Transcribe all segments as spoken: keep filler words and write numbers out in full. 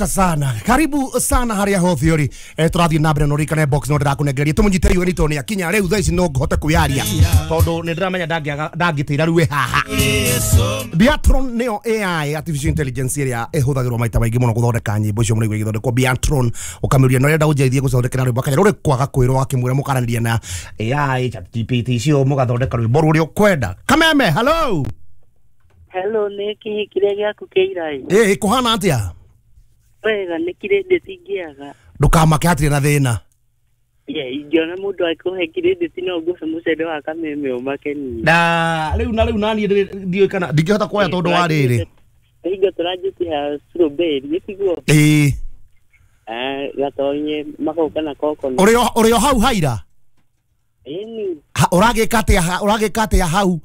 Sana karibu sana haria ho theory eh turathie na mbere no rikane box no ndirakunengereria tumunyite riu ni toni akinya riu thaa ici no ngohote kwiaria tondu ni ndiramenya ndangiaga ndangitira riu haha. Biatron neo A I artificial intelligence iria ihuthagirwo maita maingi muno guthondeka nyimbo icio muno igithondekwo Biatron ukamiria no renda unjeithie guthondekera rwimbo akanya ruri kwaga kwirwo akimwira mukaraniria na A I ChatGPT icio mugathondeka rwimbo ruria ukwenda. Kameme hello hello ni kihi kiria giaku kiirai eh kuhana atia wega nä credit ingĩaga ndukamake hatirĩ na thĩna. Yeah, ingĩona mũndũ akũhe credit no ngũhe mũcere wa Kameme ũmakenie na rĩu na rĩu naniĩ ndiũĩ kana ndingĩhota kuoya tondũ wa rĩrĩ hingo tũranjĩtie strawberry tiguo ĩĩ eh gatonye magoka na coconut ũrĩ ũrĩ o hau haira ĩni ũragĩka atĩa ũragĩka atĩa hau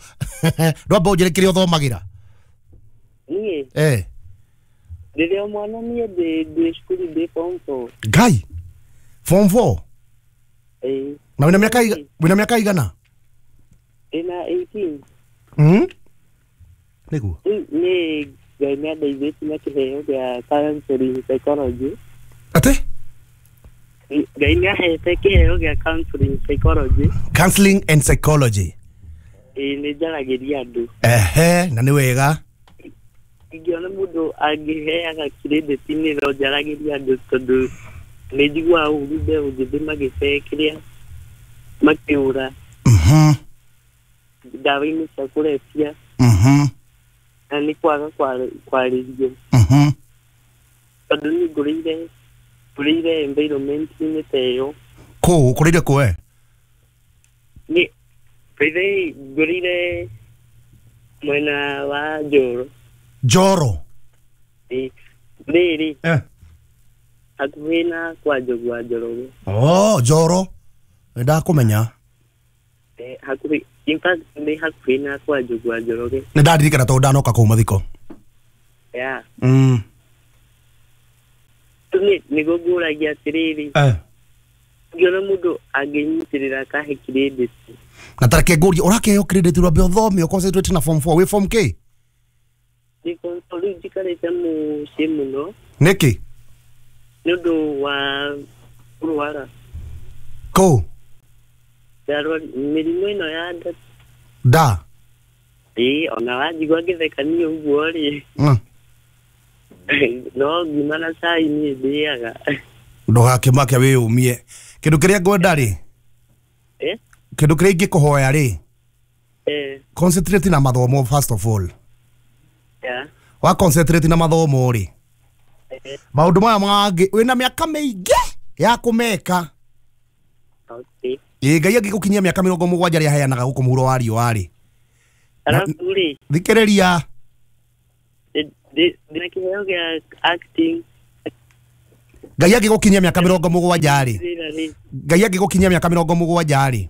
ndwamba ũnjĩre kĩrĩa ũthomagĩra niĩ eh rĩrĩa mwana niĩ ndĩ ndĩ cukuru ndĩ form four. Ngai form four eh na wĩna mĩaka wĩna mĩaka igana ina eighteen mm nĩguo nĩ Ngai nĩ andeithĩtie na kĩheo gĩa counseling psychology atĩ Ngai nĩ ahete kĩheo gĩa counseling psychology counseling and psychology ĩĩ nĩ njaragĩria andũ ehe na nĩ wega ingĩona mũndũ angĩheaga credit nĩ no njaragĩria andũ tondũ nĩ njiguaga ũru mbeũ njĩthĩ magĩte kĩrĩa makĩũra mhm ndawa-inĩ cia kũrebia mhm na nĩ kwaga kwarĩrio mhm tondũ niĩ ngũrĩire ngũrĩire environment-inĩ ta ĩyo. Kũ ũkũrĩire kũ we? Nĩ by ngũrĩire mwena wa Njoro. Njoro ĩ rĩrĩ eh hakuhĩ na kwa Njogu wa Njoroge. Oh Njoro nĩ ndakũmenya eh hakuhĩ in fact nĩ hakuhĩ na kwa Njogu wa Njoroge nĩ ndaririkana tondũ ndanoka kũu mathiko yeah mm nĩ nĩguo ngũragia atĩrĩrĩ eh ngĩona mũndũ angĩnyitĩrĩra akahe credit na tareke ngũrie ũrakĩheo credit rwambe ũthome ũconcentrate na form four wĩ form K nĩ form four rĩu njikarĩte mũciĩ mũno nĩkĩ nĩ ũndũ wa kũrwara kũ ndarwara mĩrimũ ĩno ya nda nda ĩĩ ona wanjigua ngĩtheka niĩ ũguo rĩ mm. no ngima na cai niĩ ndĩaga ndũgakĩmake wĩyũmie kĩndũ kĩrĩa ngwenda rĩ eh kĩndũ kĩrĩa ingĩkũhoya rĩ eh concentrate na mathomo first of all yeah wa concentrate na mathomo rĩ eh maũndũ maya mangĩ wĩna mĩaka mĩingĩ ya kũmeka okay ĩ Ngai angĩgũkinyia mĩaka mĩrongo mũgwanja rĩa aheanaga gũkũ mũhuro wa riũa rĩ alafu rĩ thikĩrĩria ndĩna kĩheo gĩa acting Ngai angĩgũkinyia mĩaka mĩrongo mũgwanja rĩ rĩra rĩ Ngai angĩgũkinyia mĩaka mĩrongo mũgwanja rĩ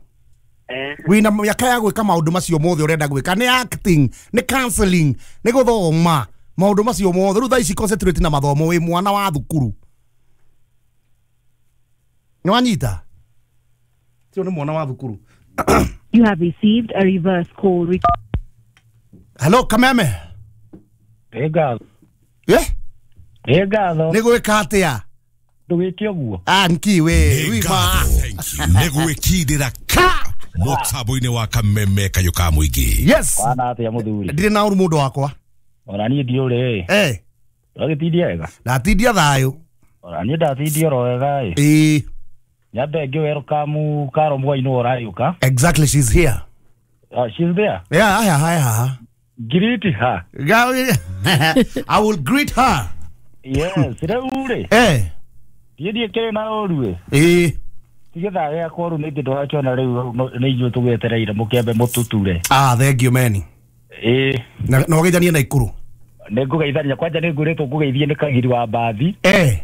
eh wĩna mĩaka ya gwĩka maũndũ macio mothe ũrenda gwĩka nĩ acting nĩ counseling nĩ gũthoma maũndũ macio mothe rĩu thaa ici concentrate na mathomo wĩ mwana wa thukuru nĩ wanyita tio nĩ mwana wa thukuru. You have received a reverse call. Re Hello Kameme Nĩ ngatho eh nĩ ngatho nĩ gwĩka atĩa ndũgĩke ũguo ah nki we wima nĩ gwĩkindĩra ka mũtambo-inĩ wa Kameme kayũ ka mũingĩ yes wana atĩa mũthuri ndirĩ na ũru mũndũ wakwa ona niĩ ndiũrĩ eh ũragĩtindia wega ndatindia thayũ ona niĩ ndatindia oro wega ĩ ĩĩ nyambe ngĩ welcome Karo Mwai nĩwe ũragĩũka exactly she's here uh, she's there yeah yeah yeah greet her I will greet her yes rĩu rĩ eh ndiĩ ndiĩkĩrĩ na ũru ĩ ĩĩ ti gĩthaa gĩakwa rĩu nĩngĩ ndũrakĩona rĩu nĩ ithuĩ tũgwetereire mũkĩambe mũtũture ah thank you meni ĩĩ na na ũgeithanie na ikuru nĩ ngũgeithania kwanja nĩ ngũrĩtwo ngũgeithie nĩ Kagiri wa Mbathi eh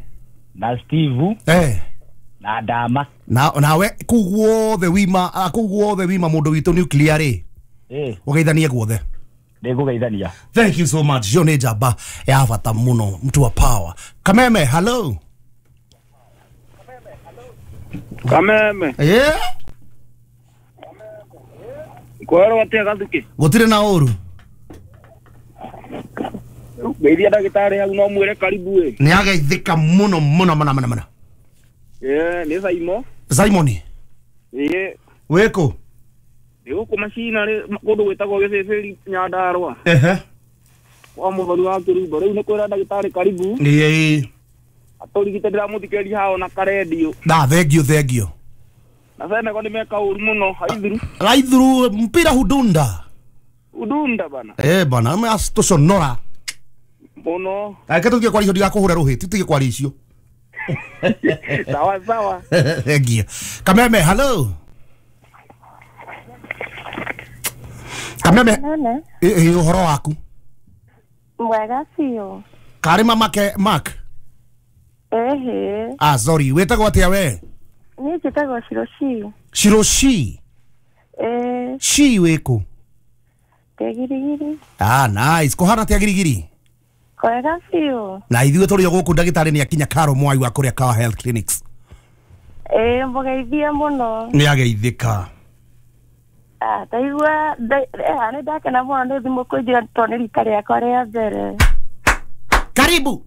na Steve eh na Ndama na nawe kũu guothe wima ah, kũu guothe wima mũndũ witũ nuclear rĩ ĩĩ ũgeithanie guothe nĩ ngũgeithania thank you so much yo nĩ njamba ya bata mũno mtu wa power Kameme hello Kameme yeah kwero atia gathuki gũtirĩ na ũru Ngeithia ndagĩtarĩ hau no mwĩre karibu ĩ. Nĩ ageithĩka mũno mũno mũno mũno mũno. Ĩĩ nĩ Simon. Simon. Ĩĩ. Wĩkũ? Ndĩ gũkũ macina rĩ kũndũ gwĩtagwo Gĩcĩcĩri Nyandarũa. Ehe. Kwa mũthoni wa kĩrumbo rĩu nĩ kwĩra ndagĩtarĩ karibu. Ĩĩ. Atũrigite ndĩramũthikĩrĩria haha ona karendio. Na thengio thengio. Na Senegal nĩ meka ũru mũno haithuru. Haithuru mpira hudunda. Udunda bana. Eh bana ame tuconora. Mũno. Reke tũthiĩ kwaria icio ndigakũhũre rũhĩ, tũthiĩ kwaria icio. Sawa sawa. Thengio. Kameme, hello. Kameme. Ĩ ũhoro waku? Mwega biũ. Karĩ mama ke Mark? Ehe. Ah sorry, wĩtagwo atĩa we? Niĩ njĩtagwo Shiroshi. Shiroshi? Eh. Shi wĩkũ? Ndĩ Girigiri. Ah nice. Kũhana atĩa Girigiri? Kwega biũ. Na ithuĩ tũrĩ o gũkũ ndagĩtarĩ nĩ akinya Karo Mwai wa kũrĩa Kawa Health Clinics. Ĩĩ mũgeithie mũno. Nĩ ageithĩka. Ah, ndaigua nĩ ndakena mũno nĩ thimũ kũnjĩra tondũ nĩ rita rĩakwa rĩa mbere. Karibu.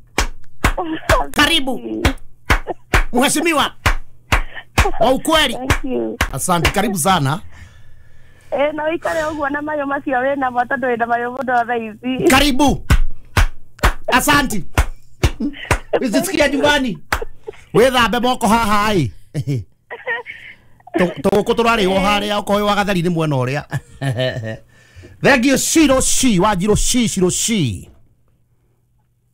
Karibu. Mheshimiwa. Wa ukweli. Thank you. Asante, karibu sana. Eh, na ũikare ũguo na mayo macio wĩnamo tondũ wĩna mayo mũno thaa ici. Karibu. Asante. Usisikia nyumbani. Wĩthambe moko haha ĩ. Tũgũkũ tũrarĩo harĩa okorwo wa gatheri nĩ mwena ũrĩa. Thank you Shiro Shi, Wanjirũ Shi, Shiro Shi.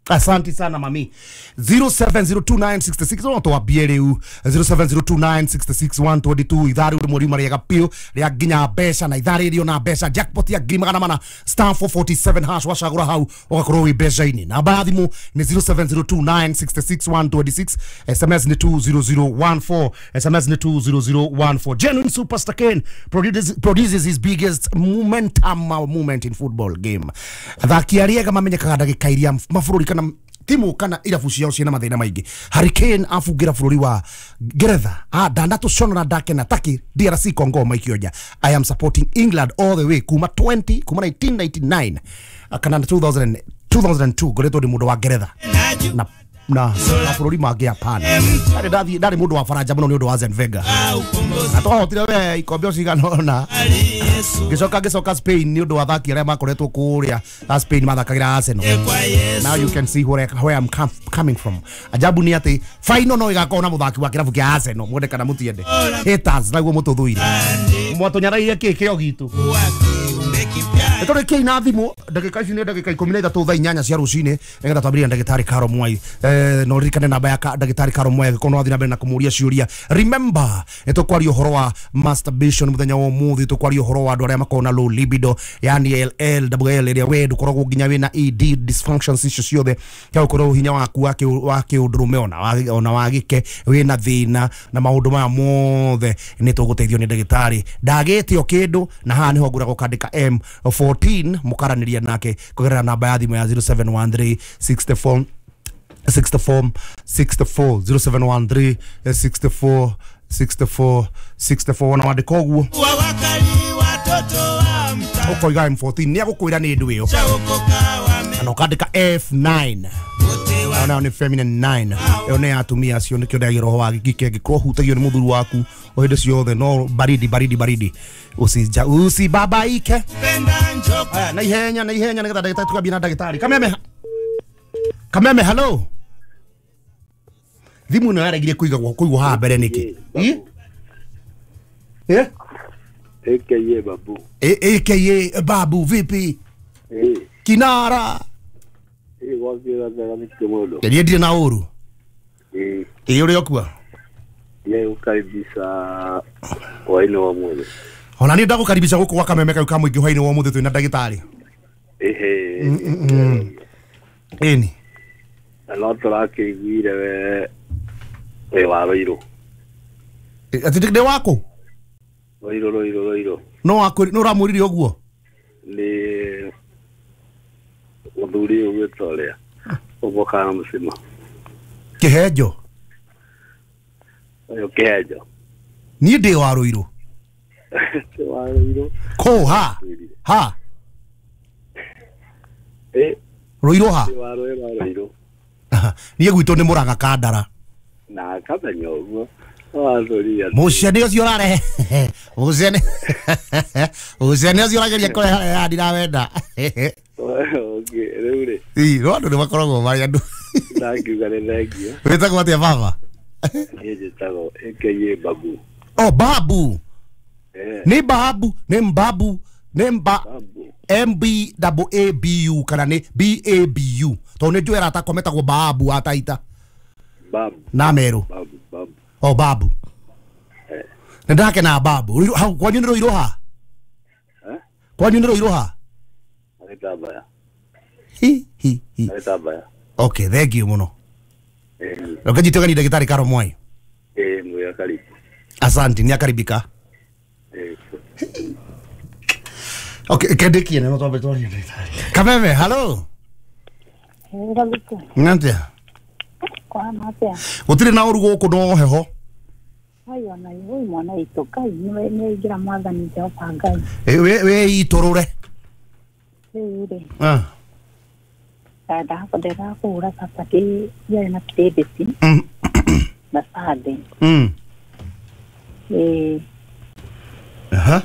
Asante sana mami. zero seven zero two nine six six no twambie rĩu zero seven zero two nine six six one two two ithaa rĩu rĩmwe riuma rĩega biũ rĩa nginya mbeca na ithaa rĩrĩ ona mbeca jackpot ya ngiri magana mana star four forty seven hash wacagũra hau ũgakorwo wĩ mbeca-inĩ. Namba ya thimũ nĩ zero seven zero two nine six six one two six, S M S nĩ two zero zero one four, S M S nĩ two zero zero one four. Genuine Superstar Kane produces, produces his biggest momentum moment in football game. Athaki arĩa ega mamenyekaga ndagĩka iria mabũrũri kana timu kana irabu ciao ciĩna mathĩna maingĩ. Harry Kane abungĩra bũrũri wa Ngeretha ah ndanatũconora ndakena Turkey D R C Congo maikio nja. I am supporting England all the way kuma twenty kuma nineteen ninety-nine kana two thousand two thousand two ngoretwo ndi mũndũ wa Ngeretha na na na bũrũri mangĩ hapana. Ndarĩ ndathiĩ ndarĩ mũndũ wa Faranja mũno nĩ ũndũ wa Arsene Wenger. Na twahotire we ikombe cigana ũna. Ngĩcoka ngĩcoka Spain nĩ ũndũ wa athaki arĩa makoretwo kũrĩa a Spain mathakagĩra Arsenal. Now you can see where, where I'm com coming from. Ajabu nĩ atĩ final no ĩgakorwo na mũthaki wa kĩrabu kĩa Arsenal mwende kana mũtiende. Haters naguo mũtũthũire. Mwatũnyaraire kĩ kĩo gitũ. Nĩtũrĩkiai na thimũ ndagĩka ici nĩ ndagĩka ikũmi na ithatũ thaa inyanya cia rũcinĩ nĩgetha twambĩrĩrie na ndagĩtarĩ Karo Mwai. Eh, no ririkane namba ya ndagĩtarĩ Karo Mwai angĩkorwo no wathiĩ na mbere na kũmũria ciũria. Remember nĩtũkwaria ũhoro wa masturbation mũthenya wa ũmũthĩ, tũkwaria ũhoro wa andũ arĩa makoragwo na low libido yani L L L ĩrĩa we ndũkoragwo nginya wĩna E D dysfunctions icio ciothe kĩa gũkorwo hinya waku wa kĩũndũrũme ona ona wa gĩke wĩna thĩna na maũndũ maya mothe nĩtũgũteithio nĩ ndagĩtarĩ. Ndagĩte o kĩndũ na haha nĩho ngũragwo kandĩka M fourteen mukaranĩria nake kũgerera namba ya thimũ ya zero seven one three six four six four six four zero seven one three six four six four six four na wandĩka ũguo ũkoiga M fourteen nĩ agũkwĩra nĩ ndũ ĩyo na ũkandĩka F nine nayo nĩ feminine nine ĩyo nĩ ya atumia acio nĩkĩo ndĩagia roho wa gĩkike angĩkorwo ũhutagio nĩ mũthuri waku o hĩndĩ ciothe no baridi baridi baridi usija usibabaike. Aya na ihenya na ihenya nĩgetha ndagĩtarĩ tukambie na ndagĩtarĩ. Kameme Kameme hello. Thimũ ĩno yaregire kũigagwo kũigwo haha mbere nĩkĩ? Eh? A K A Babu. A K A Babu vipi? Eh. Kinara. Nĩ ndirĩ na ũru. Ĩ ũrĩa ũkua? Nĩgũkaribisha hwaĩ-inĩ wa ũmũthĩ. Ona niĩ ndagũkaribisha gũkũ gwa Kameme kau ka mũingĩ hwaĩ-inĩ wa ũmũthĩ twĩna ndagĩtarĩ. Ĩhĩ. Ĩni. Na no tũrakĩiguire we wĩ wa Rũirũ. Atĩ ndĩ wakũ? Rũirũ Rũirũ Rũirũ. No wakwĩrire no ũramwĩrire ũguo? Nĩ mũthuri ũyũ gwĩtwo ũrĩa ũguo mũcima. Kĩhenjo. Ũyũ Kĩhenjo. Niĩ ndĩ wa Rũirũ. Ndĩ wa Rũirũ. Kũ ha? Ha? Eh? Ruiru ha? Wa rũĩ rwa Ruiru. Niĩ gwitũ nĩ Mũrang'a Kandara. Na kamenya ũguo. Watũria. Mũcene ũcio ũrarehe. Mũcene. Mũcene ũcio ũrageria kũrehe haha ndirawenda. Okay, rĩu rĩ. Ii, no andũ nĩ makoragwo marĩ andũ. Ndangiuga nĩ thengio. Wĩtagwo atĩa baba? Niĩ njĩtagwo A K A Babu. Oh, Babu. Eh. Nĩ Babu, nĩ Mbabu, nĩ Mba M B A B U kana nĩ B A B U. Tondũ nĩ njũĩ arata akwa metagwo Babu a Taita. Babu. Na Meru. Babu, Babu. Oh, Babu. Eh. Nĩ ndakena Babu. Ruiru hau kwanyu nĩ Ruiru ha? Eh? Kwanyu nĩ Ruiru ha? Gĩtambaya. Hi hi hi. Gĩtambaya. Okay, thank you muno. Eh. Reke njite ũgeni ndagĩtarĩ Karo Mwai. Eh, mwĩ karibu. Asante, nĩ akaribika. Eh. Okay, kendikie no twambe twarie ndagĩtarĩ. Kameme, hello. Ngathĩki. Ngantia. Kwana atĩa? Gũtirĩ na ũru gũkũ no heho. Ayo na iwe mwana witũ Ngai nĩwe nĩaingĩra mwathani Jehova Ngai. Eh, we we itũrũre. Rĩu rĩ. Ah. Ndakũndĩra kũhũra cabaci yarĩ na credit Mm. na Sunday. Mm. Ĩĩ Aha.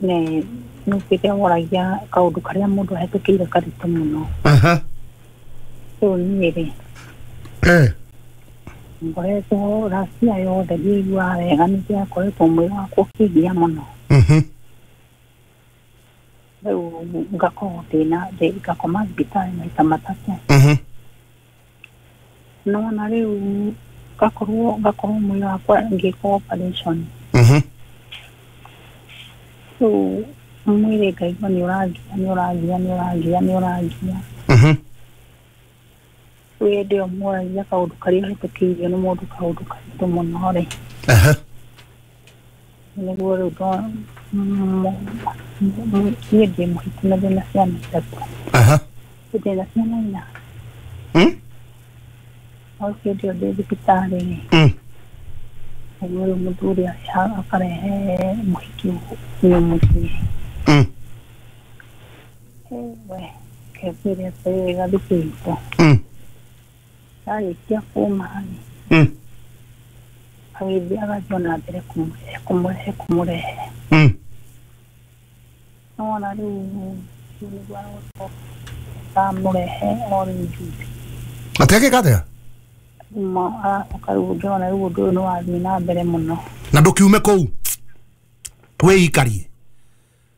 nĩ nĩũkĩte woragia kaũndũ karĩa mũndũ ahĩtũkĩire karitũ mũno. Aha. Rĩu niĩ rĩ Eh. ngoretwo racia yothe ndiiguaga wega nĩndĩrakoretwo mwĩrĩ wakwa ũkĩngia mũno. Mhm. Rĩu ngakorwo ndĩna ngakoma thibitarĩ maita matatũ. Mhm. Nona rĩu ngakorwo ngakorwo mwĩrĩ wakwa ngĩkwo operation. Mhm. Rĩu mwĩrĩ ngaigua nĩ ũrangia nĩ ũrangia nĩ ũrangia nĩ ũrangia. Mhm. Rĩu hĩndĩ ĩyo moragia kaũndũ karĩa ũhĩtũkĩirio nĩ mũndũ kaũndũ karitũ mũno rĩ. Aha. Nĩguo rĩu ndo niĩ ndĩ mũhiku na ndĩna ciana ithatũ. Aha. Ndĩna ciana inya. Mm? No hĩndĩ ĩyo ndĩ thibitarĩ rĩ. Mm. Nĩguo rĩu mũthuri akarehe mũhiki ũyũ mũciĩ. Mm. We kebire atĩrĩrĩ gathikĩ itũ. Mm. Arĩkia kuma rĩ. Mm. Agĩthiĩ agathiĩ na mbere kũmũrehe kũmũrehe kũmũrehe. Mm. Nona rĩu nĩguo aracoka amũrehe o rĩu juzi. Atĩ agĩka atĩa? Ma aracoka rĩu ngĩona rĩu ũndũ ũyũ nĩ wathiĩ na mbere mũno. Na ndũkiume kũu wĩikarie.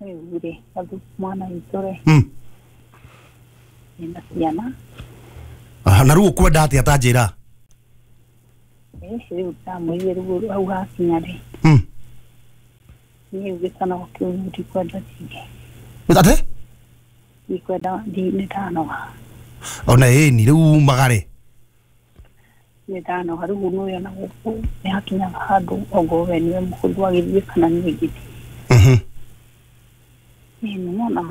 Rĩu rĩ gathu mwana witũ rĩ. Mm. Ndĩna ciana. Aha, na rĩu ũkwenda atĩa ta njĩra? Ĩ rĩu ndamwĩrire rĩu hau hakinya rĩ. Mm. Niĩ gĩtanogo kĩu ndikwenda rĩngĩ. Atĩ? Ndikwenda nĩ ndanoga. Ona ĩni rĩu umagare. Nĩ ndanoga rĩu nĩũĩ ona gũkũ nĩ hakinyaga handũ ongorwo we nĩwe mũhũthũ agĩthiĩ kana niĩ ngĩthiĩ. Mhm. Ĩ nĩwona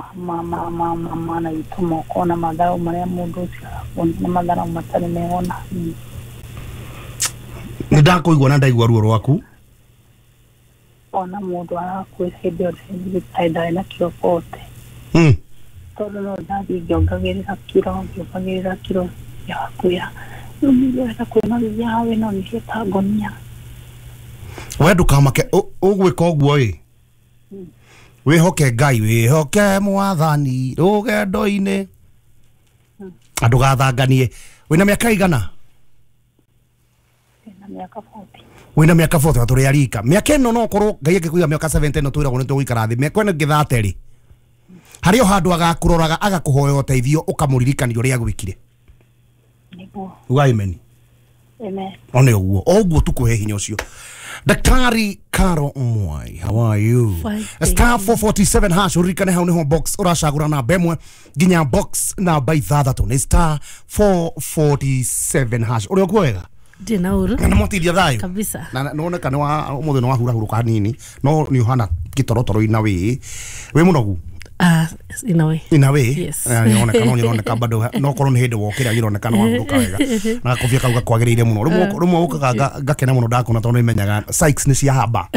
mana witũ moka ona matharau marĩa mũndũ ũcio arakuonia nĩ matharau matarĩ mega ona hanini. Nĩ ndakũigua na ndaigua ruo rwaku. Ona mũndũ arakwĩra hĩndĩ ĩyo ndarĩ thibitarĩ ndarĩ na kiro bote. Mm. Tondũ no ndathiĩ ngĩongagĩrĩra kiro ngĩongagĩrĩra kiro yakwĩra rĩu nĩ ũrenda kwĩnogithia haha wĩnogithie ta ngonia. We ndũkamake ũgwĩka ũguo ĩ. Wĩhoke Ngai wĩhoke mwathani rũgendo-inĩ. Ndũgathanganie. Wĩna mĩaka igana? Ndĩna mĩaka forty. Wĩna mĩaka forty tũrĩ arika. Mĩaka ĩno no ũkorwo Ngai angĩkũiga mĩaka seventy ĩno twĩragwo nĩ tũgũikara thĩ. Mĩaka ĩno ĩngĩ thirty rĩ. Harĩ o handũ agakũroraga agakũhoya ũteithio ũkamũririkania ũrĩa agwĩkire. Nĩguo. Uga amen. Amen. One ũguo. O ũguo tukũhe hinya ũcio. Daktari Karo Mwai, how are you? Fine, Star four forty-seven hash uririkane hau niho box uracagura namba ĩmwe nginya box namba ithathatũ nĩ star four forty-seven hash. Ũrĩ okuo wega? Ndĩ na ũru. Na nĩmwatithia thayũ? Kabisa. Na nĩwoneka nĩ wa ũmũthĩ nĩ wahurahurũka hanini no nĩ ũhana gĩtorotoro-inĩ wĩ wĩ mũnogu. Uh, in a way. In a way? Yes. Ironeka no ironeka bado no korwo ni hindi wokira ironeka no wahuruka wega. Na gakobia kau gakwagiriire muno. Rumwe rumwe ukaga ngakena muno ndakona tondu nimenyaga Sykes ni cia haba.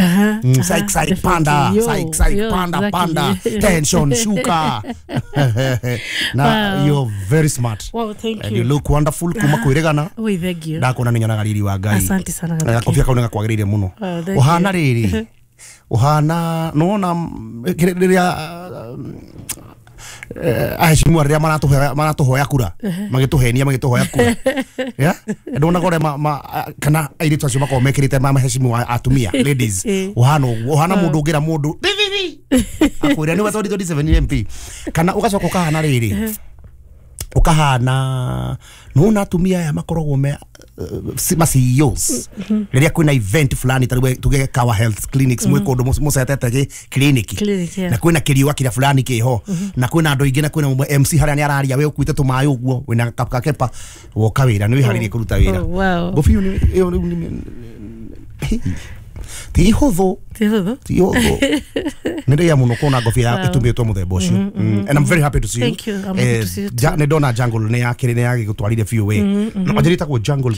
Sykes Sykes panda, Sykes Sykes panda panda, tension shuka. Na you're very smart. Wow, thank you. And you look wonderful kuma kwirigana. We thank you. Ndakona ni nyonaga riri wa Ngai. Asante sana. Na gakobia kau ni gakwagiriire muno. Uhana riri. Uhana nona riria aheshimiwa riria maratuhoya maratuhoya kura magituhenia magituhoya kura yeah ndona gore ma kana airitu acio makorwo mekirite ma maheshimiwa atumia ladies uhana uhana mundu ungira mundu akwira ni wa twenty twenty-seven M P kana ugacoka ukahana riri ukahana nona atumia aya makoragwo me ma C E Os riria kwina event fulani ta tuge Kawa Health Clinics mwe kundu mucetete gi clinic na kwina kiriwa kiria fulani kiho na kwina andu ingi na kwina M C haria ni araria we ukuite tumayi uguo wina kakepa woka wira ni wiharirie kuruta wira ngobio ni iyo ni ti huthu ti huthu ti huthu nä muno kuona ngobia itumitwo muthemba ucio. And I'm very happy to see you. Thank you. I'm happy to see you too. Nä ndona Jungle nä yakä nä yagä biũ we anjä Jungle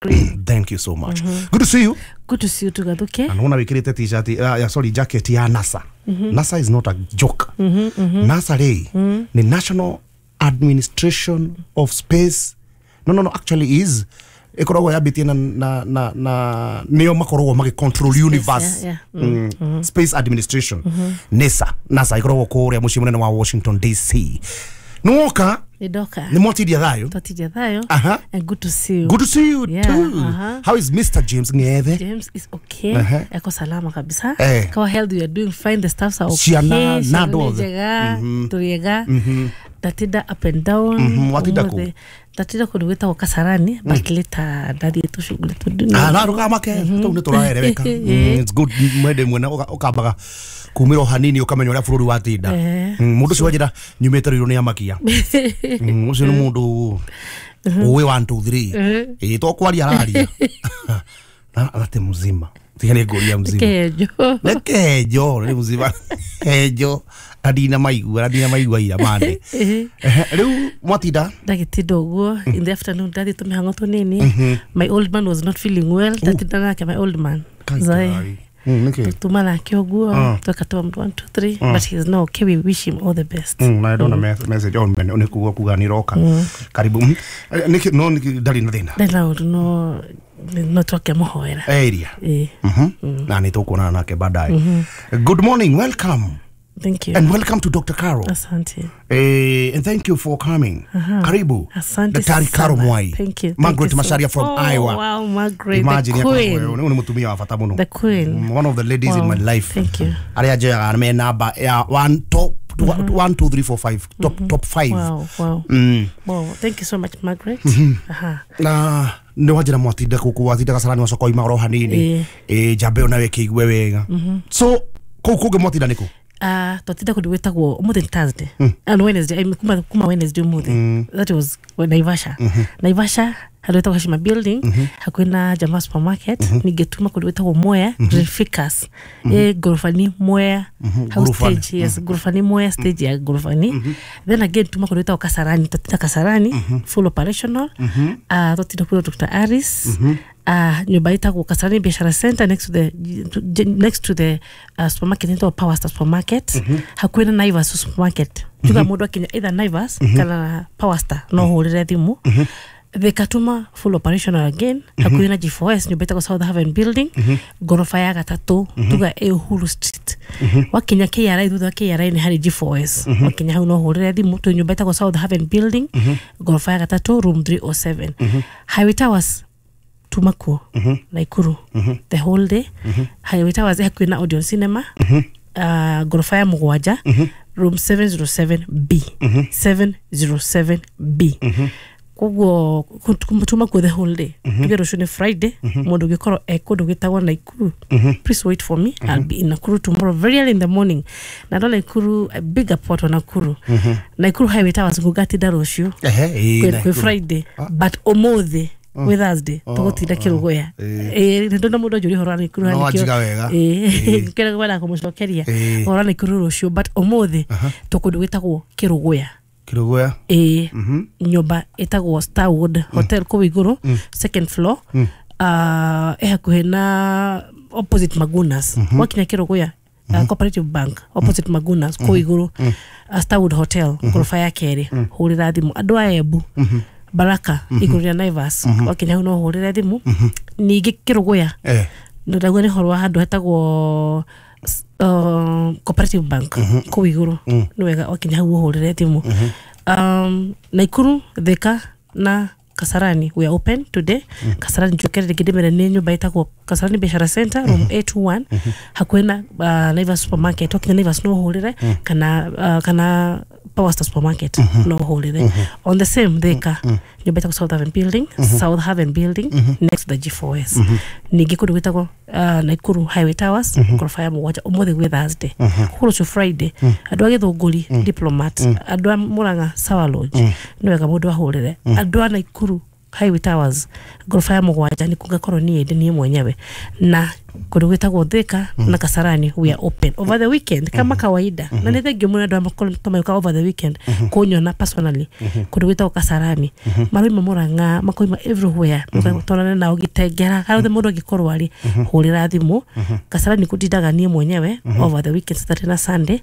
Green. Thank you so much. Good to see you. Good to see you too, Gathuke. Na nona wikirite t-shirt ya sorry jacket ya NASA. NASA is not a joke. NASA rä ni National Administration of Space. No no no actually is ikoragwo yambitie na na na na nio makoragwo magi control universe. Yeah, yeah. Mm. Mm. Space Administration. Mm -hmm. NASA NASA ikoragwo kuria mucii munene wa Washington D C. Nuoka Nidoka. Ni mwatidia thayo. Twatidia thayo. Aha. And good to see you. Good to see you yeah, too. Uh-huh. How is Mister James Ngethe? James is okay. Uh-huh. Eko salama kabisa. Eh. Kawa health, we are doing fine. The staffs are okay. Ciana na ndothe. Mm-hmm. Turiega. Mm-hmm. Ndatinda up and down. Mm-hmm. Watinda ku? Ndatinda kundu gwitagwo Kasarani, but later ndathie tucuguri tundu. Ah, na rugamake tou ni turaereweka. It's good mwende mwena ukambaga kumira o hanini ukamenya uria bururi watinda. Mundu ucio wanjira nyumite ruiru ni amakia. Ucio ni mundu uwi one two three. Ĩ to kwaria araria. Na ate muzima. Tiga ni nguria muzima. Kejo. Ne kejo, ni muzima. Kejo. Adina maigua, adina maigua ira mande. Riu mwatinda? Ndagitinda uguo in the afternoon ndathi tumihango tunini. My old man was not feeling well. Ndatinda nake my old man. Kai. Mm, okay. Tuma nake uguo tweka one two three but he is now okay. We wish him all the best. Mm, na ndona message on men oni kuga kuga ni roka. Karibu. Niki no ndari na thina. Ndari na undu no no twake muhoera. Area. Eh. Mhm. Na ni tukuonana nake baadaye. Good morning, welcome. Thank you. And welcome to Doctor Caro. Asante. Eh, and thank you for coming. Uh-huh. Karibu. Asante. Daktari Caro Mwai. Thank you. Margaret Thank you Macharia from oh, Iowa. Wow, Margaret. Imagine the queen. Ni mutumia wa bata muno. The queen. One of the ladies wow. in my life. Thank you. Aria njoyaga me namba ya one top mm-hmm. one two three four five top mm-hmm. top five. Wow, wow. Mm. Wow, thank you so much Margaret. Mm-hmm. Aha. Na nä wanjä mwatinda kå kå watinda gacarani wacoka oima oro hanini ä njambe ona we kä igue wega. So kå u kå ngä mwatinda nä kå? Uh, twatinda kundu gwitagwo umuthi ni Thursday mm. and Wednesday I mean, kuma, kuma Wednesday umuthi mm. that was Naivasha. mm -hmm. Naivasha handu gwitagwo Hashima building, mm -hmm. hakuhi na Jamaa supermarket. mm -hmm. Ningetuma kundu gwitagwo Mwea mm -hmm. Reficus mm -hmm. e gorofani Mwea mm -hmm. house stage, yes. mm -hmm. Gorofani Mwea stage ya gorofani. mm -hmm. Then again tuma kundu gwitagwo Kasarani, twatinda Kasarani. mm -hmm. Full operational. mm -hmm. Uh, twatinda kuri Doctor Aris. mm -hmm. Uh, nyumba itagwo Kasarani Biashara Center next to the next to the uh, supermarket into Power Star supermarket. mm -hmm. Hakuhi na Naivas supermarket. Tuga mm -hmm. mundu akinya either Naivas mm -hmm. kana Power Star no hurire thimu. mm -hmm. The Katuma full operational again. mm -hmm. Hakuhi na G four S nyumba itagwo South Haven building. mm -hmm. Gorofa ya gatatu. mm -hmm. Tuga e Uhuru Street. mm -hmm. Wakinya K R I thutha wa K R I ni hari G four S. mm -hmm. Wakinya hau no hurire thimu tu nyumba itagwo South Haven building. mm -hmm. Gorofa ya gatatu room three oh seven. mm -hmm. Highway Towers tumakuo. mm -hmm. Naikuru. mm -hmm. The whole day. mm -hmm. Highway Towers hakuhi na Odeon Cinema. mm -hmm. Uh, gorofa ya mugwanja. mm -hmm. Room seven oh seven B. mm -hmm. seven oh seven B. mm -hmm. Koguo tuma kuo the whole day. mm -hmm. Tuge rucio ni Friday. mm -hmm. Mundu ngikorwo e kundu gwitagwo Naikuru. mm -hmm. Please wait for me. mm -hmm. I'll be in Nakuru tomorrow very early in the morning. Na ndona Nakuru a big port wa Nakuru. mm -hmm. Nakuru Highway Towers ngugatinda rucio ehe kwi Friday. Ah. But umuthi Gwĩ Thursday tũgũtinda Kĩrũgũya. Ĩĩ ndona mũndũ anjũria ũhoro wa Naikuru No anjiga wega. Ĩĩ kĩrĩa gwenda kũmũcokeria Ĩĩ. ũhoro wa Naikuru rũciũ, but ũmũthĩ tũkũndũ gwĩtagwo Kĩrũgũya. Kĩrũgũya. Ĩĩ, nyũmba ĩtagwo Starwood Hotel kũu igũrũ, second floor, uh, ĩ hakuhĩ na opposite Magunas. Wakinya Kĩrũgũya, uh, Cooperative Bank opposite Magunas kũu igũrũ, uh, Starwood Hotel ngoroba ya kerĩ, hũrĩra thimũ. Andũ a Embu, Baraka igũrũ rĩa Naivas, wakinya hau no ũhũrĩre thimũ. Ningĩ Kĩrũgũya Eh. ndauga nĩ ũhoro wa handũ hetagwo s- uh, Cooperative Bank kũu igũrũ, nĩ wega wakinya hau ũhũrĩre thimũ. um, Naikuru, Thika na Kasarani, we are open today. Kasarani njokere rĩngĩ ndĩmere nĩ nyũmba ĩtagwo Kasarani Biashara Center, room A twenty-one, hakuhĩ na uh, Naivas supermarket. Wakinya Naivas no ũhũrĩre, kana uh, kana Power Star supermarket no ũhũrĩre. On the same Thika, nyũmba ĩtagwo South Haven Building, South Haven Building, next to the G four S. Ningĩ kũndũ gwĩtagwo uh, Naikuru Highway Towers, ngoroba ya mũgwanja, ũmũthĩ gwĩ Thursday. Kũu rũciũ Friday, andũ a Gĩthũngũri Diplomat, andũ a Murang'a Sawa Lodge, nĩ wega mũndũ ahũrĩre. Andũ a Naikuru Highway Towers ngoroba ya mũgwanja nĩ kungakorwo niĩ ndĩ niĩ mwenyewe. Na kũndũ gwĩtagwo Thika na Kasarani, we are open over the weekend kama kawaida, na nĩ thengiũ mũno andũ a mayũka over the weekend kũnyona personally. Kũndũ gwĩtagwo Kasarani, maroima Murang'a, makoima everywhere, tonane nao gĩtengera harĩa othe mũndũ angĩkorwo arĩ, hũrĩra thimũ. Kasarani kũndindaga niĩ mwenyewe over the weekend, Saturday na Sunday.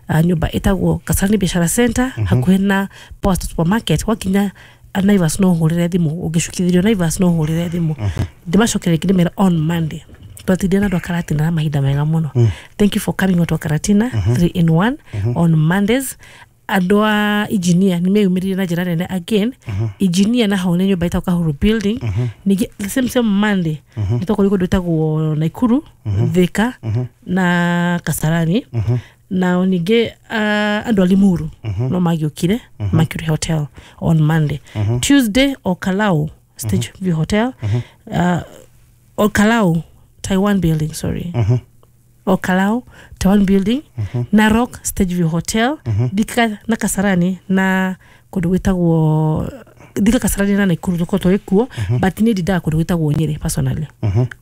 uh, nyũmba ĩtagwo Kasarani Biashara Center, hakuhĩ na Power Star supermarket. Wakinya Naivas no ũhũrĩre thimũ, ũngĩcukithĩrio Naivas no ũhũrĩre thimũ. Ndĩmacokere rĩngĩ ndĩmere on Monday twatindire na andũ a Karatina na mahinda mega mũno. Thank you for coming out wa Karatina three in one. On Mondays, andũ a engineer nĩ meyumĩririe na njĩra nene again. Engineer na hau nĩ nyũmba ĩtagwo Kahuru Building. Ningĩ the same same Monday nĩ twakorirwo kũndũ ĩtagwo Naikuru, Thika na Kasarani. Na ningĩ uh, andũ a Limuru no magĩũkire Mercury Hotel on Monday. Tuesday, Olkalou Stage View Hotel, uh, Olkalou Taiwan Building, sorry, Olkalou Taiwan Building, Narok Stage View Hotel, Thika na Kasarani na kũndũ gwĩtagwo Thika, Kasarani na Naikuru tũkorwo tũrĩ kuo, but niĩ ndindaga kũndũ gwĩtagwo Nyĩrĩ personally.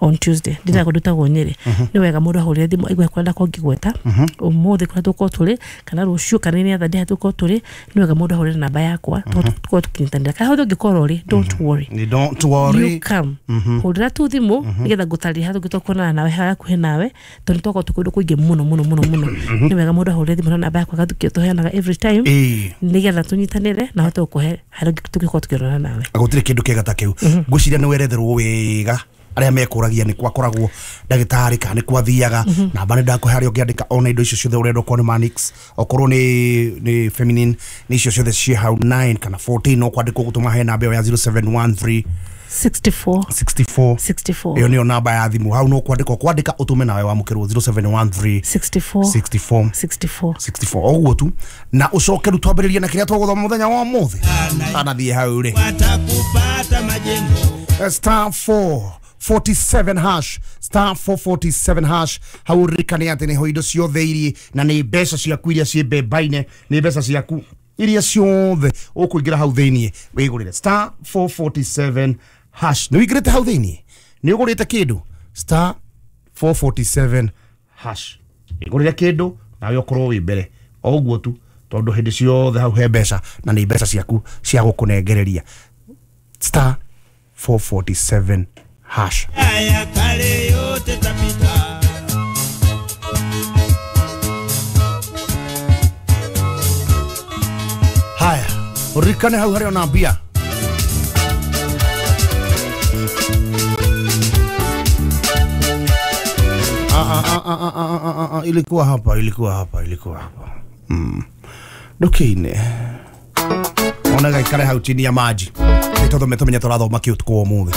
On Tuesday ndindaga kũndũ gwĩtagwo Nyĩrĩ. Nĩ wega mũndũ ahũrĩre thimũ aigue kũrĩa ndakorwo ngĩgweta ũmũthĩ kũrĩa tũkorwo tũrĩ, kana rũciũ, kana nĩ other day tũkorwo tũrĩ. Nĩ wega mũndũ ahũrĩre namba yakwa tũkorwo tũkĩnyitanĩra. Kana hothe ũngĩkorwo ũrĩ, don't worry. Don't worry. You come, hũrĩra tu thimũ nĩgetha ngũtarĩrie harĩa tũngĩtua kuonana nawe harĩa hakuhĩ nawe, tondũ nĩ twakorwo twĩ kũndũ kũingĩ mũno mũno mũno mũno. Nĩ wega mũndũ ahũrĩre thimũ na namba yakwa gathukio tũheanaga every time, Ĩĩ. nĩgetha tũnyitanĩre na hote gũkũhe harĩa tũngĩkorwo tũkĩonana nawe. Gũtirĩ kĩndũ kĩega ta kĩu. Ngwĩciria nĩ weretherwo wega arĩa mekũragia nĩ kwakoragwo ndagĩtarĩ kana nĩ kwathiaga. Namba nĩ ndakũhe harĩa ũngĩandĩka ona indo icio ciothe ũrenda, okorwo nĩ Manix, okorwo nĩ nĩ feminine, nĩ icio ciothe ciĩ hau nine kana fourteen, no kwandĩkwo gũtũma he namba ĩyo ya zero seven one three sixty-four sixty-four sixty-four. Ĩyo nĩyo namba ya thimũ. Hau no kwandĩka kwandĩka ũtũme nawe wamũkĩrwo zero seven one three sixty-four sixty-four sixty-four sixty-four, o ũguo tu. Na ũcoke rĩu twambĩrĩrie na kĩrĩa tũgũthoma mũthenya wa ũmũthĩ. Tanathiĩ hau rĩ watakupata majengo. Star four forty-seven hash, star four forty-seven hash. Hau ririkane atĩ nĩho indo ciothe irie na nĩ mbeca ciaku iria ciĩ mbemba-inĩ, nĩ mbeca ciaku iria ciothe ũkũingĩra hau thĩiniĩ wĩgũrĩre. Star four forty-seven hash. Nĩ wĩingĩrĩte hau thĩiniĩ, nĩ ũgũrĩte kĩndũ? Star four forty-seven hash, wĩgũrĩre kĩndũ nawe ũkorwo wĩ mbere, o ũguo tu, tondũ hĩndĩ ciothe hau he mbeca na nĩ mbeca ciaku cia gũkũnengereria. Star four forty-seven hash. Haya kale yote tapita. Haya, ũririkane hau harĩ ona mbia. Ah, ah, ah, ah, ah, ah, ah, ah, ilikuwa hapa, ilikuwa hapa, ilikuwa hapa mm. Ndukiine ona gaikare hau chini ya maji nĩ tũmenye tũrathoma kĩ ũtukũ wa ũmũthĩ.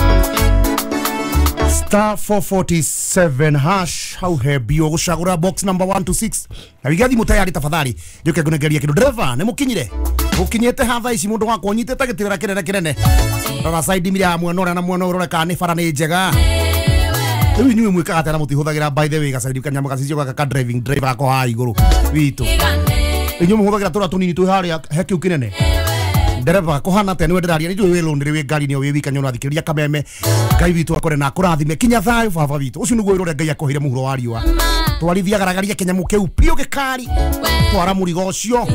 Star four forty-seven hash, hau he mbia ũgũcagũra box number one to six na wige thimũ tayari tafadhali, njuke ngũnengeria kĩndũ. Dereva nĩ mũkinyire, mũkinyĩte ha thaa ici? Mũndũ wakwa ũnyitĩte gĩtĩra kĩnene kĩnene, rora side mira ya mwena ũrĩa na mwena ũyũ, ũrore kana nĩ bara nĩ njega. Rĩu inyuĩ mwĩkaga atĩa na mũtihũthagĩra, by the way, gacaidi kanyamũ gacicio gaka ka driving driver gako haha igũrũ witũ? Inyuĩ mũhũthagĩra tũrĩa tũnini twĩ harĩa he kĩu kĩnene? Ndereba kuhana atia niwe ndiraria ni njũĩ wĩ lũnĩrĩ wĩ ngari-inĩ o wĩ wika nĩ ũrathikĩrĩria kameme. Ngai witũ akore na akũrathime kinya thayũ baba witũ. Ũcio nĩguo wĩra ũrĩa Ngai akũheire mũhuro wa riũa. Twarithia garagaria kĩnyamũ kĩu piũ gĩkari twara mũrigo ũcio.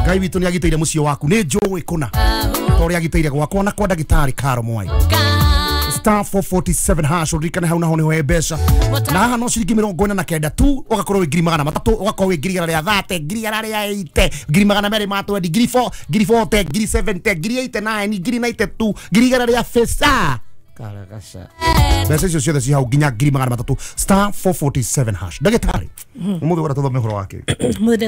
Ngai witũ nĩ agitĩire mũciĩ waku nĩ njũĩ kũna ta ũrĩa agitĩire gwakwa na kwa ndagĩtarĩ Karo Mwai. Star four forty-seven hash uririkane hau naho niho he mbeca na haha no ciringi mĩrongo ĩna na kenda tu ũgakorwo wĩ ngiri magana matatũ ũgakorwo wĩ ngiri igana rĩa thate ngiri igana rĩa eighty ngiri magana merĩ ma twenty ngiri four ngiri forty ngiri seventy ngiri eighty-nine ngiri ninety-two ngiri igana rĩa fesa karagaca mbeca icio ciothe ci hau nginya ngiri magana matatũ star four forty-seven hash. Ndagĩtarĩ ũmũthĩ wenda tũthome ũhoro wake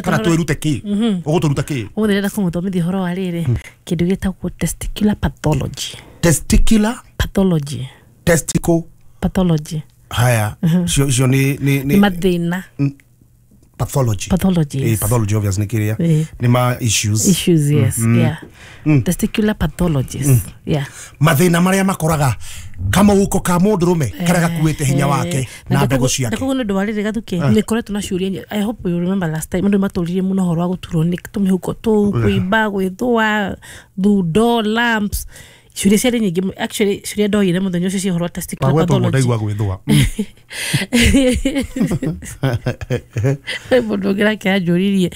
kana twĩrute kĩ ũgũtũruta kĩ? Ũmũthĩ ndĩrenda kũmũthomithia ũhoro wa rĩrĩ kĩndũ gĩtagwo testicular pathology. Testicular pathology. Testicle pathology. Haya cio cio ni ni ni mathina pathology. Pathology. Eh, pathology obviously ni kiria ni ma issues. Issues, yes. Mm. Yeah. Mm. Testicular pathologies. Mm. Yeah. Mathina maria makoraga kama uko ka mundurume karia gakuite hinya wake na mbegu ciake. Ndakugo ndu warire gathuke ni koretwo na ciuria. I hope you remember last time ndu maturirie muno horo wa guturwo ni tumihuko tu kuimba gwithwa thundo lumps. Ciuria ciarĩ nyingĩ actually ciuria ndoire mũthenya ũcio cia ũhoro wa testicular pathology. Ndaigua gwĩthũa. Mũndũ ũngĩ nake anjũririe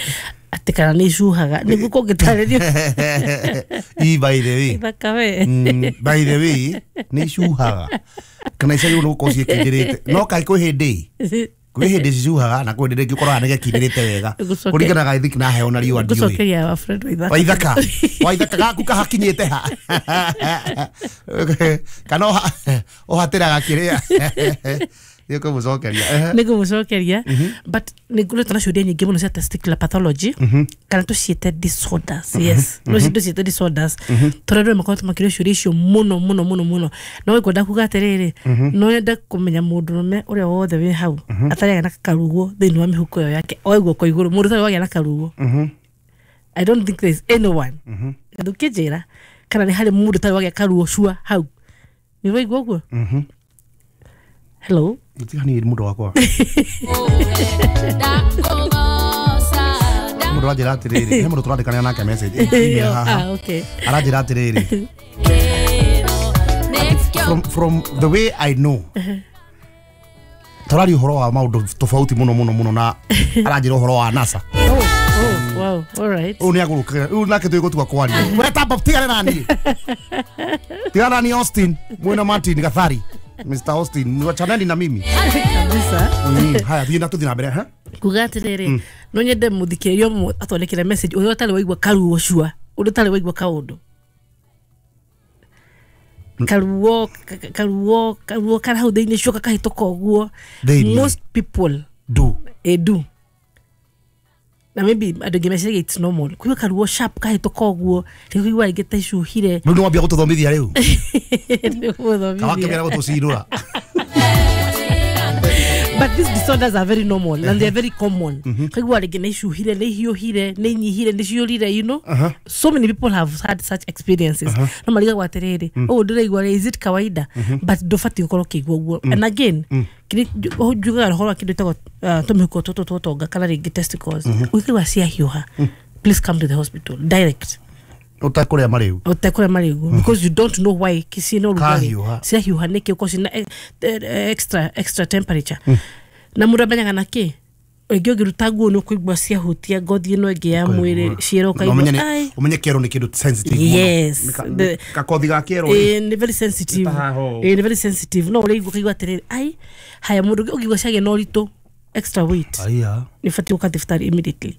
atĩ kana nĩ icuhaga nĩguo kũngĩtarĩrio. I by the way. Ithaka we. By the way nĩ icuhaga kana icagĩrĩirwo nĩ gũkorwo ciĩkindĩrĩte no kaĩ kwĩ hĩndĩ kwĩ hĩndĩ cicuhaga na kwĩ hĩndĩ rĩngĩ ũkoraga nĩ gekindĩrĩte wega kũringanaga I think na heho na riũa ndiũĩ. Ngũcokeria wa Fred Waithaka. Waithaka Waithaka gaku kahakinyĩte ha kana ũhatĩraga kĩrĩa nĩ kũmũcokeria nĩ kũmũcokeria but nĩ ngoretwo na ciũria nyingĩ mũno cia testicular pathology kana tũciĩte disorders. Yes, no tũciĩte disorders tondũ andũ makoretwo makĩũria ciũria icio mũno mũno mũno mũno no ngwenda kuga atĩrĩrĩ no nyende kũmenya mũndũrũme ũrĩa wothe wĩ hau atarĩ na karugo thĩinĩ wa mĩhuko ĩyo yake oe guoko igũrũ mũndũ ũtarĩ wagĩa na karugo. I don't think there is anyone ndũkĩnjĩra kana nĩ harĩ mũndũ ũtarĩ wagĩa karugo cua hau nĩ waigua ũguo? Hello. Gũtiganĩria mũndũ wakwa. Mũndũ aranjĩra atĩrĩrĩ, he mũndũ tũrandĩkanĩra nake message email haha. Ah, okay. Aranjĩra atĩrĩrĩ. From from the way I know. Tũraria ũhoro wa maũndũ tofauti mũno mũno mũno na aranjĩra ũhoro wa NASA. Oh, oh, wow, all right. Ũyũ nĩ agũrũkĩra, ũyũ nake tũgũtua kwaria. We tamba tigana na niĩ. Tigana na niĩ Austin, mwĩna Martin Gathari. Mister Austin, wachaneni na mimi. Kabisa. Mm, haya thiĩ na tũthiĩ na mbere, ha? Kuga atĩrĩrĩ, no nyende mũthikĩrĩria ũmwe atwandĩkĩre message ũrĩa ũtarĩ waigua karuo cua, ũrĩa ũtarĩ waigua kaũndũ. Karuo, karuo, karuo kara hau thĩinĩ cua gakahĩtũka ũguo. Most people do. Eh, do. Na maybe andũ aingĩ meciragia it's normal. Kũigua karuo sharp kahĩtũka ũguo, rĩu kũigua rĩngĩ ta icuhire. Rĩu nĩ wambia gũtũthomithia rĩu. Nĩgũthomithia. Kawakĩmera gũtũcirũra. But these disorders are very normal and they are very common. Kaigua rĩngĩ nĩ icuhire, nĩ ihiũhire, nĩ inyihire, nĩ ciũrire, you know. So many people have had such experiences. No marigagwo atĩrĩrĩ, ũũ ndĩraigua rĩ, is it kawaida? But ndũbatiĩ gũkorwo ũkĩigua ũguo. And again, kĩrĩa njugaga ũhoro wa kĩndũ gĩtagwo tũmĩhuko tũtũ twa ũtonga kana rĩngĩ testicles, ũngĩigua ciahiũha, please come to the hospital direct. Ũtekũrĩa marĩgu. Ũtekũrĩa marĩgu because you don't know why ciĩna ũrugarĩ. Ciahiũha nĩkĩ ũkorwo ciĩna extra extra temperature. Na mũndũ amenyaga na kĩ? Rĩngĩ ũngĩruta nguo nĩ ũkũigua ciahutia ngothi ĩno ĩngĩ ya mwĩrĩ ciĩra ũkaigua ai. Ũmenye kĩero nĩ kĩndũ sensitive mũno. Yes. Kakothi ga kĩero. Ĩĩ nĩ very sensitive. Ĩĩ nĩ very sensitive. No ũrĩigua ũkaigua atĩrĩrĩ ai haya mũndũ ũngĩigua ciagĩa na ũritũ extra weight. Aya. Nĩ ũbatiĩ gũka thibitarĩ immediately.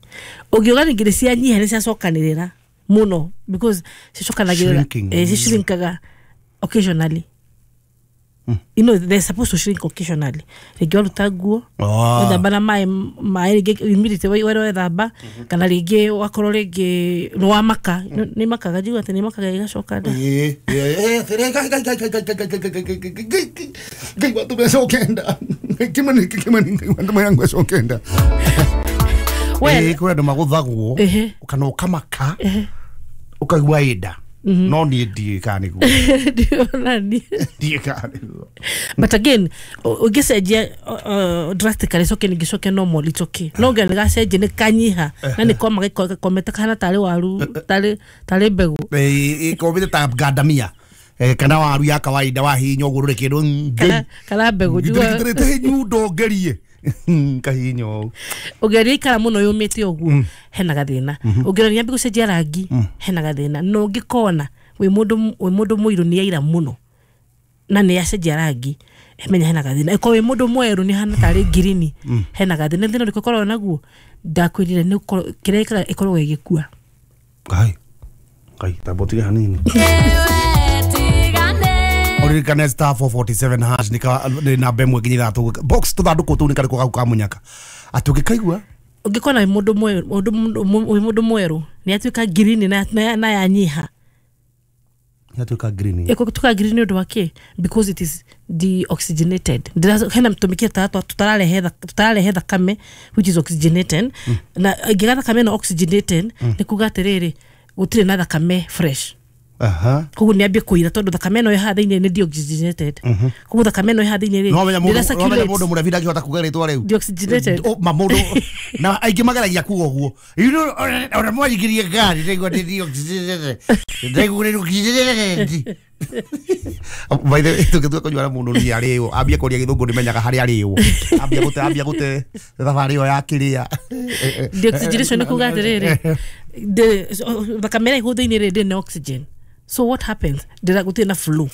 Ũngĩuga rĩngĩ nĩ cianyiha nĩ ciacokanĩrĩra mũno because cicokanagĩrĩra eh cishrinkaga occasionally. You know they're supposed to shrink occasionally. Rĩngĩ waruta nguo wethamba na maĩ maĩ rĩngĩ immediately wera wethamba kana rĩngĩ wakorwo rĩngĩ nĩ wamaka nĩ makaga njigua atĩ nĩ makaga igacoka nda. Ĩĩ ĩĩ Ngai watũme acoke nda. Kimani kimani Ngai watũme yangu acoke nda. Well, kwĩ andũ magũthagwo kana ũkamaka ũkaigua ĩnda. No niĩ ndiũĩ kana nĩguo. Ndionani. Ndiũĩ kana nĩguo. But again, ũngĩcenjia uh, drastically coke ningĩ coke normal, it's okay. No nginya nĩgacenjia nĩ kanyiha na nĩ koma gĩkomete kahana tarĩ waru tarĩ tarĩ mbegũ. Ĩkomete ta ngandamia kana waru ya kawaida wahihinya ũguo ndũrĩ kĩndũ. Kana kana mbegũ njua. Ngĩtĩrĩte nyundo ngerie. Kahihinya ũũ. Ũngĩrĩa ikara mũno yũmĩte ũguo hena gathĩna. Ũngĩrora yambie gũcenjia rangi hena gathĩna. No ũngĩkona wĩ mũndũ wĩ mũndũ mũirũ nĩ yaira mũno na nĩ yacenjia rangi menya hena gathĩna. Ĩkorwo wĩ mũndũ mwerũ nĩ hana tarĩ ngirini hena gathĩna. Thĩna ũrĩkũ ũkoragwo naguo ndakwĩrire nĩ kĩrĩa ĩkaga ĩkoragwo ĩgĩkua. Ngai Ngai tamba ũtige hanini. Ũririkane star four forty-seven hash nĩ namba ĩmwe nginya ithatũ box tũthandũkũ tũu nĩ karĩkũ gau ka mũnyaka atĩ ũngĩkaigua ũngĩkona wĩ mũndũ mwerũ wĩ mũndũ mwerũ nĩ atuĩka ngirini na yanyiha. Yatuĩka green. Ĩgũtuĩka green nĩ ũndũ wa kĩ? Because it is deoxygenated. Hena tũmĩkĩra tũtararehe tũtararehe thakame which is oxygenated na ĩngĩga thakame no oxygenated nĩ kuga atĩrĩrĩ gũtirĩ na thakame fresh. Aha. Koguo nĩ ambie kũira tondũ thakame ĩno ĩ haha thĩinĩ nĩ deoxygenated. Koguo thakame ĩno ĩ haha thĩinĩ rĩ no menya mũndũ no menya mũndũ mũrebi ndangĩhota kuga rĩtwa rĩu. Deoxygenated. Ma mũndũ na aingĩ mageragia kuga ũguo. You know ona mwaingĩrie ngari ndaigua nĩ deoxygenated. Ndaigua nĩ deoxygenated. By the way tũngĩtua kũnyua na mũndũ nĩ arĩo ambie kũria gĩthũngũ nĩmenyaga harĩa arĩo. Ambia gũte ambia gũte thabarĩ ĩyo ya kĩrĩa. Deoxygenation nĩ kuga atĩrĩrĩ thakame ĩrĩa ĩ thĩinĩ rĩ ndĩrĩ na oxygen. So what happens? Ndĩra gũtirĩ na flow.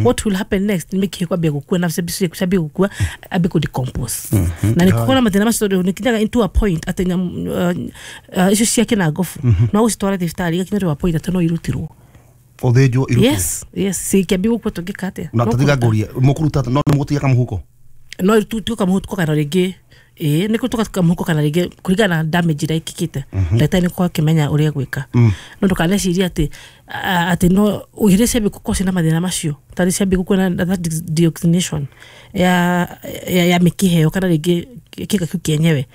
What will happen next? Nĩ mĩkiha kwambia gũkua na ciambie gũkua ambie kũ decompose. Na nĩ kũkora mathĩna macio tondũ nĩ kinyaga into a point atĩ icio cia kĩnangobu no gũcitwara thibitarĩ igakinya to a point atĩ no irutirwo. Ũthĩnjwo irutwo. Yes, yes, cikĩambia gũkua tũngĩka atĩa? Na tũtiga ngũrie mũkũruta no nĩ mũgũtiga kamũhuko? No tũtiga kamũhuko kana rĩngĩ ĩĩ nĩ kũtuka kamũhuko kana rĩngĩ kũringana na damage ĩrĩa ĩkĩkĩte. Ndagĩtarĩ nĩ akorwo akĩmenya ũrĩa egwĩka. No ndũkanecirie atĩ atĩ no rĩrĩa ciambia gũkorwo ciĩna mathĩna macio tarĩ ciambia gũkua na that deoxygenation ya ya mĩkiha ĩyo kana rĩngĩ kĩga kĩu kĩenyewe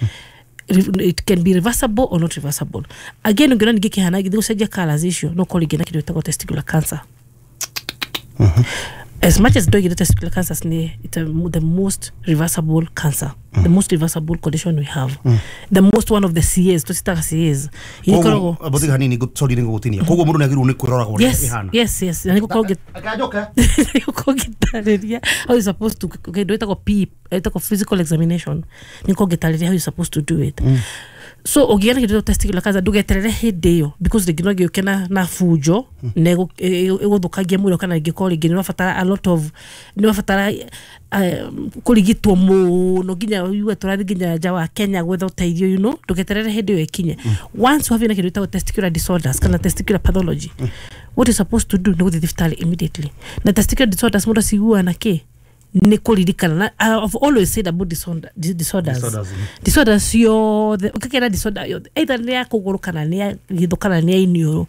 it can be reversible or not reversible. Again ũngĩona ningĩ kĩhana gĩthiĩ gũcenjia colours icio no ũkorwo rĩngĩ na kĩndũ gĩtagwo testicular cancer. As much as ndoigire testicular cancers ni it's a, the most reversible cancer, mm. the most reversible condition we have, mm. the most one of the C As tũcitaga C As. Koguo botiga hanini sorry nĩngũgũtinia. Koguo mũndũ nĩagĩrĩirwo nĩ kwĩrora ũrĩa ĩhana. Yes, yes, na nĩgũkorwo akanjoka nĩgũkorwo ngĩtarĩria how you supposed to kĩndũ gĩtagwo P ĩtagwo physical examination nĩgũkorwo ngĩtarĩria how you supposed to do it. Mm. So ũngĩgĩa na kĩndũ testicular cancer ndũgeterere hĩndĩ ĩyo because rĩngĩ no gĩũke na na bunjo na ĩgũthũkangia mwĩrĩ kana ĩngĩkorwo rĩngĩ nĩ ũrabatara a lot of nĩ ũrabatara kũrigitwo mũno nginya uge tũrathiĩ nginya nja wa Kenya gwetha ũteithio you know ndũgeterere hĩndĩ ĩyo ĩkinye. Once wagĩa na kĩndũ gĩtagwo testicular disorders kana testicular pathology what you supposed to do nĩ gũthiĩ thibitarĩ immediately. Na testicular disorders mũndũ aciguaga na kĩ? Nĩ kũririkana. I've always said about disorder, disorders. Disorders, disorders yothe ũkĩkera disorder yothe either nĩ ya kũgũrũ kana nĩ ya gĩthũ kana nĩ ya iniũrũ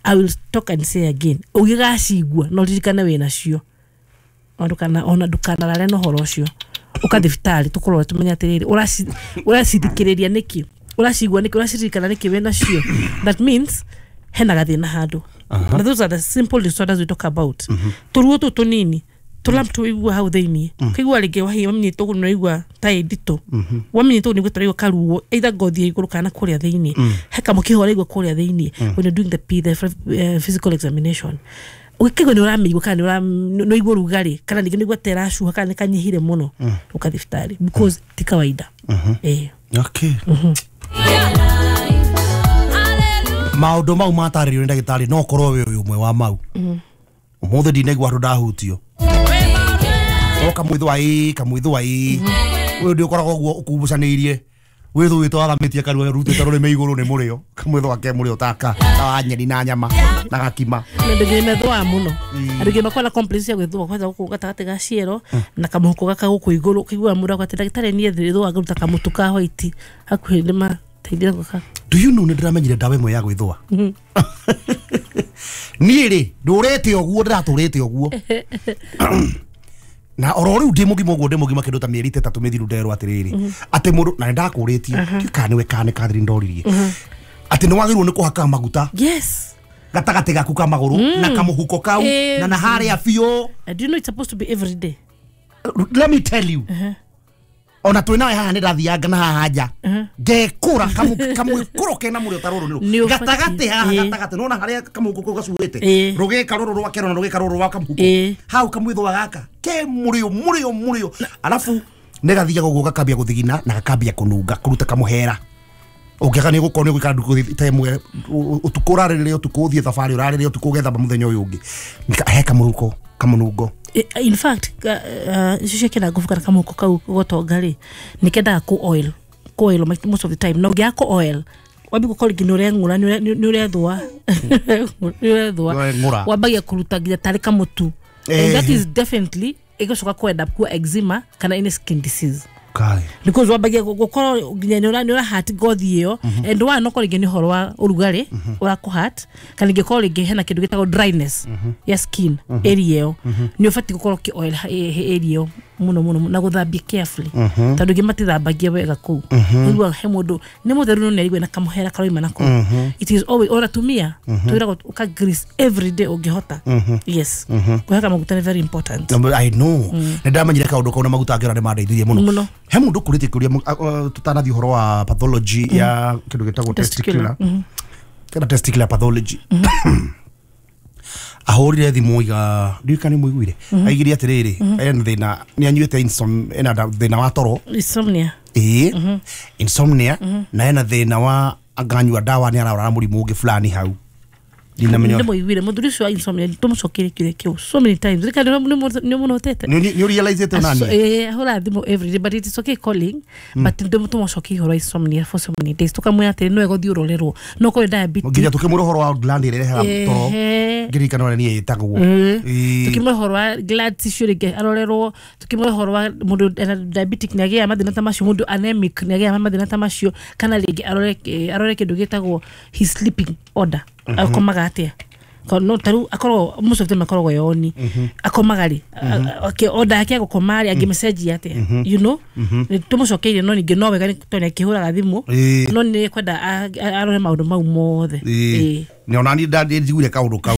I will talk and say again ũgĩgacigua no ririkane wĩ nacio ona ndũkanarare na ũhoro ũcio ũka thibitarĩ tũkũrore tũmenye atĩrĩrĩ ũracithikĩrĩria nĩkĩ ũracigua nĩkĩ ũraciririkana nĩkĩ wĩ nacio. That means hena gathĩna handũ. Uh-huh. Those are the simple disorders we talk about. Tũruo tũtũ tũnini tũlamp tũigua hau thĩinĩ kaigua rĩngĩ wahia wamenyitwo ũguo nĩũraigua ta ĩ nditũ wamenyitwo ũguo nĩguo tũraigua karuo either ngothi ya igũrũ kana kũrĩa thĩinĩ he kamũkiha ũraigua kũrĩa thĩinĩ when you're doing the, P, the uh, physical examination ũgĩkaigua nĩ ũramĩigua kana nĩ ũraigua ũrugarĩ kana ningĩ nĩ ũraigua ta ĩracuha kana nĩ kanyihire mũno ũka thibitarĩ because ti kawaida. Eh. Okay. Maũndũ mau matarĩrio nĩ ndagĩtarĩ no ũkorwo wĩ ũyũ ũmwe wa mau. Ũmũthĩ ndinaigua andũ ndahutio. Kamwithwa ĩ kamwithwa ĩ ũyũ ndĩ ũkoragwo ũguo ũkumbucanĩirie wĩthũĩtwo athamĩtie kanua rutĩte rũrĩmĩ igũrũ nĩ mũrĩo kamwithwa ke mũrĩo taka ta wa nyeni na nyama na gakima. Na andũ aingĩ methũaga mũno andũ aingĩ makoragwo na complaints cia gwĩthũa kwanza gũkũ gatagatĩ ga ciero na kamũhuko gaka gũkũ igũrũ ũkaigua mũndũ akauga atĩ ndagĩtarĩ niĩ ndĩthũaga ngaruta kamũtu ka white hakuhĩ nĩ mateithia gwĩka. Do you know nĩ ndĩramenyire ndawa ĩmwe ya gwĩthũa? Niĩ rĩ ndũrĩte ũguo ndĩratũrĩte ũguo na oro riu ndi mugima uguo ndi mugima kindu ta mieri itatu mithiru nderwo atiriri ati mundu na ndakuritie kana niwe kana Catherine ndoririe ati ni wagirwo ni kuhaka maguta. Yes, Gatagatĩ gaku ka magũrũ na kamũhuko kau na na harĩa biũ. Do you know it's supposed to be every day? Let me tell you. Ona twĩ nawe haha nĩ ndathianga na haha nja ngekũra kamwĩkũro kena mũrĩo ta rũrũ nĩ gatagatĩ haha gatagatĩ nona harĩa kamũhuko kau gacuhĩte rũgĩka rũrũ rwa kero na rũgĩka rũrũ rwa kamũhuko hau kamwĩthũa gaka ke mũrĩo mũrĩo mũrĩo alafu nĩ gathiaga ũguo gakambia gũthigina na gakambia kũnunga kũruta kamũhera ũngĩaga nĩ gũkorwo nĩ gũikara ndukũ ta ĩmwe ũtukũ ũrarĩrĩre ũtukũ ũthiĩ thabarĩ ũrarĩrĩre ũtukũ ũgethamba mũthenya ũyũ ũngĩ he kamũhuko kamũnungo. In fact, icio cia kĩna ngubu kana kamũhuko kau gotonga rĩ nĩ kendaga kũ oil kũ oil most of the time na ũngĩaga kũ oil wambi gũkorwo rĩngĩ nĩ ũreng'ũra nĩ ũrethũa nĩ ũrethũa wambagia kũruta nginya tarĩ kamũtu and that is definitely ĩgũcoka kwenda kuwa eczema kana any skin disease. Kai. Because wambagia gũkorwo nginya nĩ ũrahati ngothi ĩyo and one no rĩngĩ nĩ ũhoro wa ũrugarĩ ũrakũhat kana ingĩkorwo rĩngĩ hena kĩndũ gĩtagwo dryness ya skin area ĩyo nĩ ũbatiĩ gũkorwo ũkĩ oil area ĩyo mũno mũno na gũthambia carefully tondũ ingĩ matithambagia wega kũu ũiguaga he mũndũ nĩ mũtheru no nĩ arigua na kamũhera karoima na kũu. It is always ona atumia twĩragwo ũka grease every day ũngĩhota. Yes, kũhaka maguta nĩ very important. I know nĩ ndamenyire kaũndũ kau na maguta ngĩona nĩ mandeithirie mũno. He mũndũ ũkũrĩtie kĩũria tũtanathiĩ ũhoro wa pathology ya kĩndũ gĩtagwo testicular kana testicular pathology. Ahũrire thimũ iga ndiũĩ kana nĩ mũiguire aigire atĩrĩrĩ ena thĩna nĩ anyuĩte ena thĩna wa toro insomnia ĩĩ insomnia na ena thĩna wa anganyua ndawa nĩ ararwara mũrimũ ũngĩ fulani hau. Nĩ mũiguire mũthuri ũcio wa insomnia tũmũcokeire kĩũria kĩu so many times rĩka nĩ mũnotete nĩ ũrealizĩte nani ĩĩ ahũra thimũ every day but it is okay calling but tũmũcokeire ũhoro wa insomnia for so many days tũkamwĩra atĩrĩ no egũthiĩ ũrorerwo no korwo diabetes nginya tũkĩmwĩra ũhoro wa gland ĩrĩa ĩrehaga toro ngĩririkana ũrĩa niĩ ĩtagwo tũkĩmwĩra ũhoro wa gland tissue rĩngĩ arorerwo tũkĩmwĩra ũhoro wa mũndũ ena diabetic nĩ agĩaga mathĩna ta macio mũndũ anemic nĩ agĩaga mathĩna ta macio kana rĩngĩ arore arore kĩndũ gĩtagwo his sleeping order akomaga atia no taru akorwo most of them akoragwo yoni akomaga rĩ okay order yake gũkoma rĩ angĩmessage atia you know tũmũcokeire no ningĩ no wega tondũ akĩhũraga thimũ no nĩ kwenda arore maũndũ mau mothe. Nĩ ona niĩ njiguire kaũndũ kau.